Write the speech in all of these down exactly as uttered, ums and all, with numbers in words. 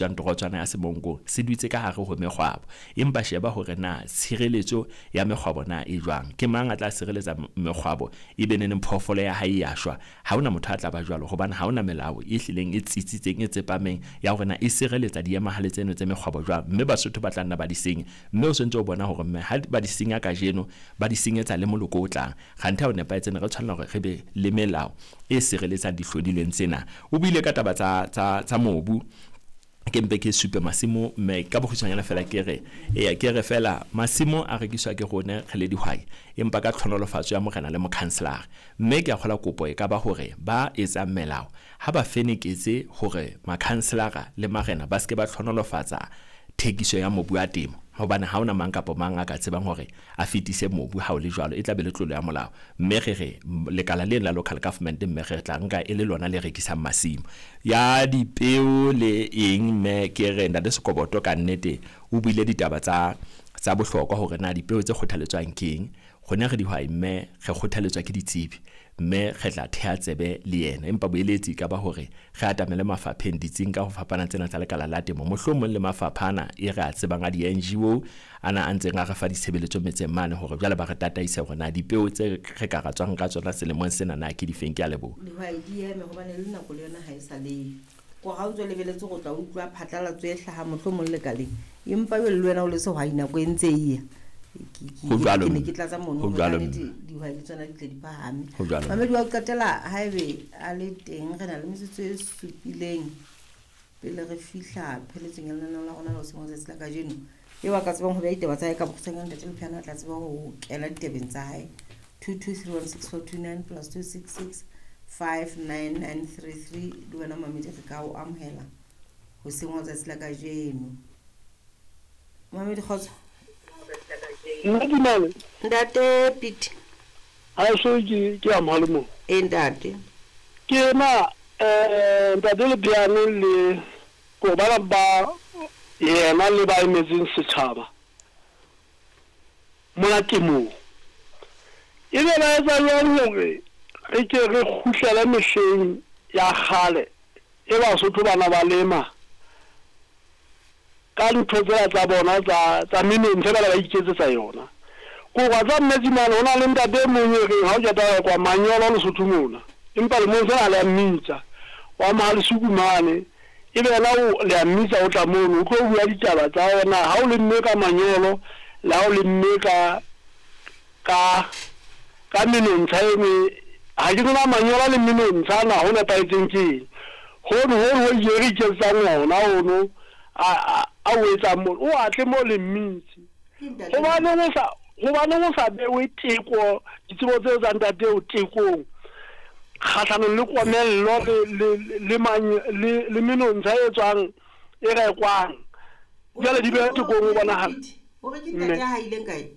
Bitswang torotswana ya Semonkong se dutse ka hare ho mekgwabo. Empa sheba hore na tshireletso ya mekgwabo na e jwang. Ke mang a tla sireletsa mekgwabo e be neneng phoofolo ya hae ya shwa? Ha hona motho a tla ba jwalo, hobane ha hona melao e hlileng e tsitsitseng, e tsepameng ya hore na e sireletsa diemahale tseno tse mekgwabo jwang. Mme Basotho ba tla nna ba di senya. Mme o sontso o bona hore mme ha ba di senya kajeno, ba di senyetsa le moloko o tlang. Kganthe ha o nepahetse, ne re tshwanela hore re be le melao e sireletsang dihlodilweng tsena. O buile ka taba tsa tsa tsa mobu. Ke mpe ke supe masimo, mme ka bokgutshwanyane fela ke re, eya ke re fela masimo a rekiswa ke rone re le dihwai, empa ka tlhonolofatso ya morena le mokhanselara. Mme ke a kgola kopo e ka ba hore ba etsang melao ha ba feneketse hore makhanselara le marena ba seke ba tlhonolofatsa thekiso ya mobu wa temo, hobane ha hona mang kapa mang a ka tsebang hore a fetise mobu ha o le jwalo, e tla be le tlolo ya molao. Mme re re lekala lena la local government, mme re tla nka e le lona le rekisang masimo ya dipeo le eng. Mme ke re ntate Sekoboto ka nnete o buile ditaba tsa tsa bohlokwa hore na dipeo tse kgothaletswang ke eng. Rona re dihwai, mme re kgothaletswa ke ditsebi, mme re tla theha tsebe le yena. Empa boeletsi ka ba hore re atamele mafapheng, ditsing ka ho fapana tsena tsa lekala la temo, mohlomong le mafapha ana e re a tsebang a di-N G O ana a ntseng a re fa ditshebeletso metseng mane, hore jwale ba re tataise hore na dipeo tse re ka ra tswang ka tsona selemong sena na ke difeng. Ke a leboha. Dihwai di eme hobane le nako le yona ha e sa le ko ha o ntso lebeletse go tla utlwa phatlalatso e hlaha mohlomong lekaleng, empa jwale le wena o le sehwai nako e ntse e ya. Ho jwalo, Ke ne ke tlatsa mono ho hore jwalo, kannete dihwai le tsona di tle di phahame. Ho jwalo. Mamedi wa ho qetela haebe a le teng, re na le metsotso e supileng pele re fihla pheletsong ya lenaneo la rona la hoseng wa tsatsi la kajeno. Eo a ka tsebang ho beha ditaba tsa hae ka bokgutshwanyane, Ntate Lepheana a tla tseba ho kena ditabeng tsa hae. two two three one six four two nine plus two six six five nine nine three three. Le wena Mamedi re ka o amohela hoseng wa tsatsi la kajeno. Mamedi, kgotso. Nna dumela. Ntate Pete. Ha so ke ke a mohale mo. E ntate. Ke na eh ntate Lepheane le go bana ba yena le ba emetseng setjhaba mona temong. E be ba etsa jwang hore re ke re kgutlele mehleng ya kgale e Basotho bana ba lema ka ntho tsela tsa bona tsa tsa menontsha ba ba iketsetsa yona. Ko wa tsa mmetsi mane ho na le ntate e mong e reng ha o qeta kwa manyolo Lesotho mona, empa lemong sena le a mmitsa wa Mohalesuku mane, e be yena o le a mmitsa o tla mono o tlo bua ditaba tsa ona ha o lemme ka manyolo le ha o lemme ka ka ka menontsha e nngwe. Ha ke tsena manyolo le menontsha na ho nepahetseng ke eng? Hono hono ho ile re iketsetsang ona ono a a a o etsang mo o atle mo le mmitse. Hobaneng o sa hobaneng o sa bewe teko ditsebo tseo tsa ntate eo tekong kgahlanong le komello le le le le le menontsha e tswang e rekwang jwale di bewe tekong o bonahala. Hore ke ntate ya haileng kae?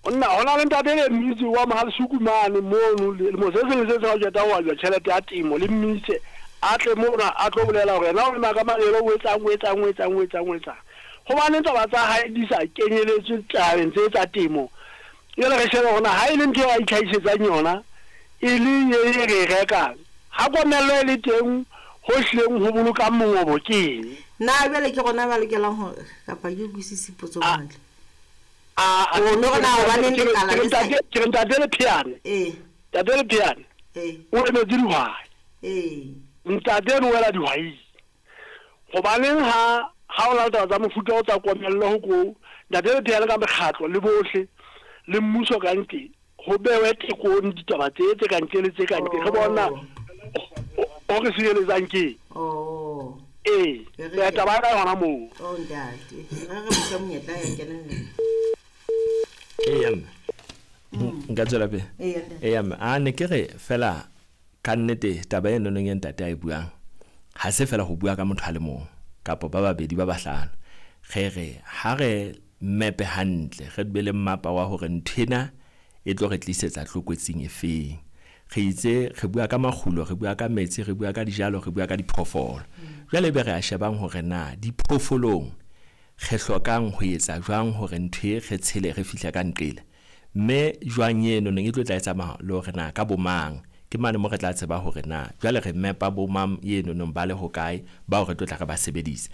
Nna hona le ntate le mmitse wa Mohalesuku mane mono lemo se seng le se seng ha o qeta ho ajwa tjhelete ya temo le mmitse a tle mona a tlo bolela hore yena o lema ka manyolo o etsang o etsang o etsang o etsang o etsang. Hobaneng taba tsa hae di sa kenyeletswe tabeng tse tsa temo? Jwale re shebe hore na ha e le ntho eo a itlhahisetsang yona e le e re e rekang, ha komello e le teng ho hlileng ho bolokang mongobo ke eng? Na jwale ke rona ba lokelang hore kapa ke utlwisise potso hantle. A O no re na hobaneng lekala le sa ke re ntate Lepheane. Eh. Ntate Lepheane. Eh. O emetse dihwai. Eh. Ntate no wela dihwai. Hobaneng ha ha o la taba tsa mofuta o tsa komello ho ko ntate Lepheane ka mekgatlo le bohle le mmuso ka ntle ho bewe tekong ditaba tse tse ka ntle le tse ka ntle re bona o re sireletsang ke. Oh. Eh, taba ya ka yona moo. Oh ntate, re re motho monyetla ya kenella. Eya mme. Nka tswela pele. Eya mme, a ne ke re fela ka nnete taba e nonong e ntate a e buang ha se fela ho bua ka motho a le mong kapa ba babedi ba bahlano. Re re ha re mepe hantle, re be le mmapa wa hore nthwena e tlo re tlisetsa tlokotsing e feng. Re itse re bua ka makgulo, re bua ka metsi, re bua ka dijalo, re bua ka diphoofolo. Jwale be re a shebang hore na diphoofolong re hlokang ho etsa jwang hore ntho e re tshele re fihle ka nqele. Mme jwang eno neng e tlo tla e tsamaya le hore na ka bomang Ke mane mo re tla tseba hore na jwale re mepa bo mang eno nong ba le hokae bao re tlo tla re ba sebedise.